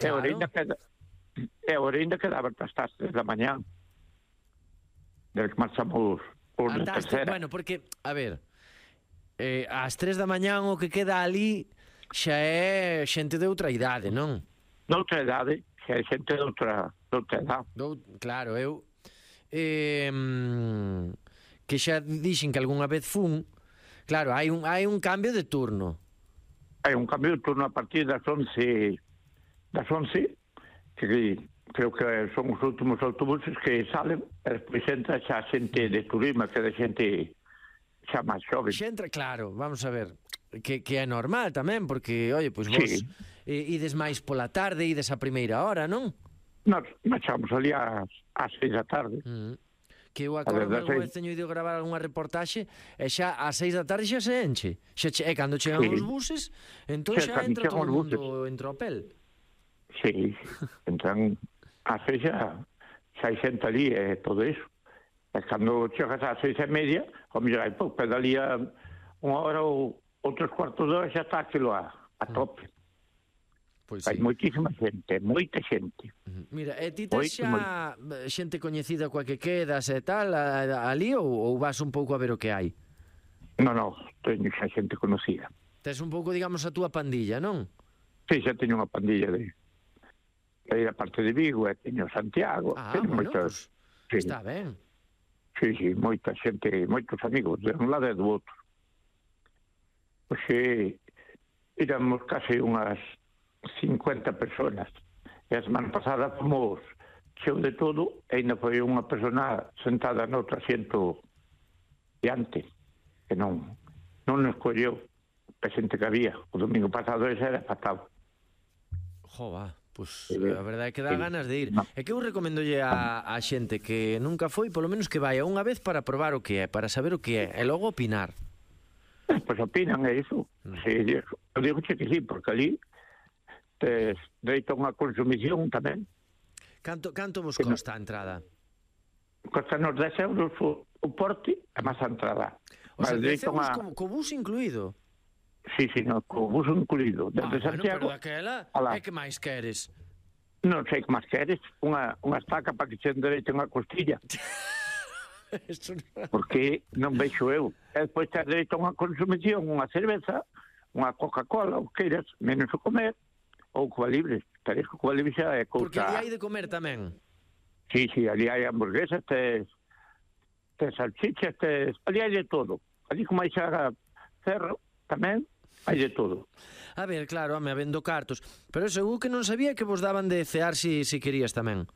claro. E agora ainda quedaba hasta as 3 da mañá. Desde que marchamos por na terceira. Bueno, porque, a ver, ás 3 da mañán o que queda ali xa é xente de outra idade, non? Noutra idade, xa é xente de outra idade. Claro, eu que xa dixen que algunha vez fun. Claro, hai un cambio de turno. Hai un cambio de turno a partir das 11, que creo que son os últimos autobuses que salen, e despois entra xa xente de turismo, que é de xente xa máis xoven. Xa entra, claro, vamos a ver, que é normal tamén, porque, oye, pois vos ides máis pola tarde, ides a primeira hora, non? Nos marchamos ali ás 6 da tarde. Que eu acordo que algunha vez teño ido gravar algunha reportaxe e xa ás 6 da tarde xa se enche. E cando chegan os buses, entón xa entra todo o mundo en tropel. Sí, entran ás 6 xa hai xente ali e todo iso. E cando chegas ás 6:30, o mellor hai pouco, pedalía unha hora ou outros cuartos de hora xa está aquilo a tope. Pois hai moitísima xente, moita xente. Mira, e ti tes xa xente coñecida coa que quedas e tal ali ou vas un pouco a ver o que hai? Non, teño xa xente conocida. Tes un pouco, digamos, a túa pandilla, non? Sí, xa teño unha pandilla de a parte de Vigo, e teño Santiago. Bueno, pues, está ben. Sí, moita xente, moitos amigos, de un lado e do outro. Pois éramos case unhas 50 personas. E a semana pasada fomos cheo de todo, e ainda foi unha persona sentada no outro asiento diante, que non nos colleu a xente que había. O domingo pasado ese era fatal. Pois a verdade é que dá ganas de ir. É que eu recomendolle a xente que nunca foi, polo menos que vaya unha vez para probar o que é, para saber o que é, e logo opinar. Pois opinan, é iso. Eu digo que sí, porque ali tes dereito a unha consumición tamén. Canto vos costa a entrada? Costa nos 10 euros o porte e máis a entrada. O sea, 10 euros co bus incluído? Sí, co bus incluído. Desde Santiago... Pero daquela, é que máis queres? Non sei que máis queres. Unha estaca para que ten dereito a unha costilla. Porque non veixo eu. E despois ten dereito a unha consumición, unha cerveza, unha Coca-Cola, o que queiras, menos o comer, ou coa libre. Teres que coa libre xa é cousa... Porque ali hai de comer tamén. Sí, ali hai hamburguesas, tes salchichas, ali hai de todo. Ali como hai xa cerro, tamén hai de todo. A ver, claro, habendo cartos. Pero seguro que non sabía que vos daban de cear si querías tamén.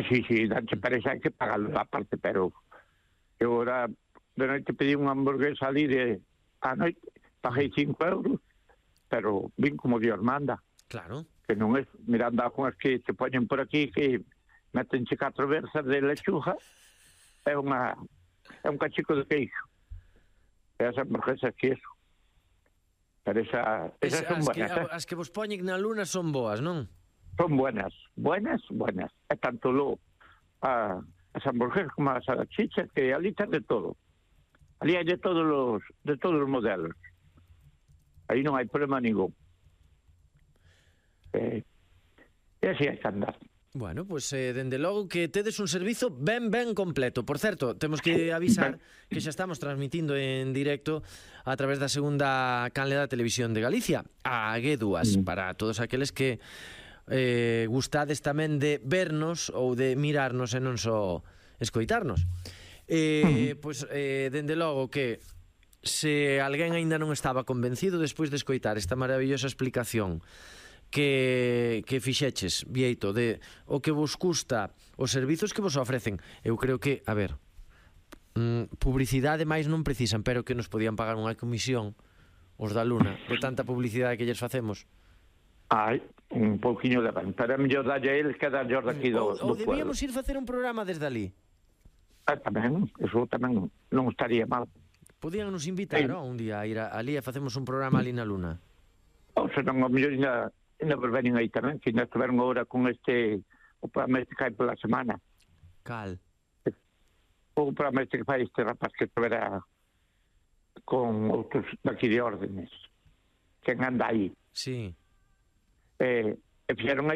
Sí, danche parece hai que pagarlo a parte, pero eu ahora de noite pedí unha hamburguesa ali a noite, paguei 5 euros, pero vin como Dios manda. Claro. Que non é mirando algunhas que te poñen por aquí que metenche 4 versas de lechuga, é un cachico de queixo. E as hamburguesas que eso. Pero esas son buenas. As que vos poñen na luna son boas, non? Son buenas. E tanto as hamburguesas como as salchichas, que ali ten de todo. Ali hai de todos os modelos. Aí non hai problema ningún. E así hai que andar. Bueno, pois dende logo que tedes un servizo ben completo. Por certo, temos que avisar que xa estamos transmitindo en directo a través da segunda canle da Televisión de Galicia, a G2, para todos aqueles que gustades tamén de vernos ou de mirarnos e non só escoitarnos. Pois dende logo que se alguén aínda non estaba convencido despois de escoitar esta maravillosa explicación que fixeches, Bieito, de o que vos custa os servizos que vos ofrecen, eu creo que, a ver, publicidade máis non precisan, pero que nos podían pagar unha comisión os da Luna de tanta publicidade que lles facemos. Un pouquiño de ben, pero é mellor dalle a eles que dalle os daqui do pueblo. Ou debíamos ir facer un programa desde ali. Tamén, eso tamén non estaría mal. Podían nos invitar, un día a ir ali e facemos un programa ali na Luna. Ou senón, o mellor ainda volverían aí tamén, que ainda estiveron agora con o programa este que hai pola semana. Cal? O programa este que fai este rapaz que estivera con outros daqui de órdenes, que anda aí. Sí. E fixeron aí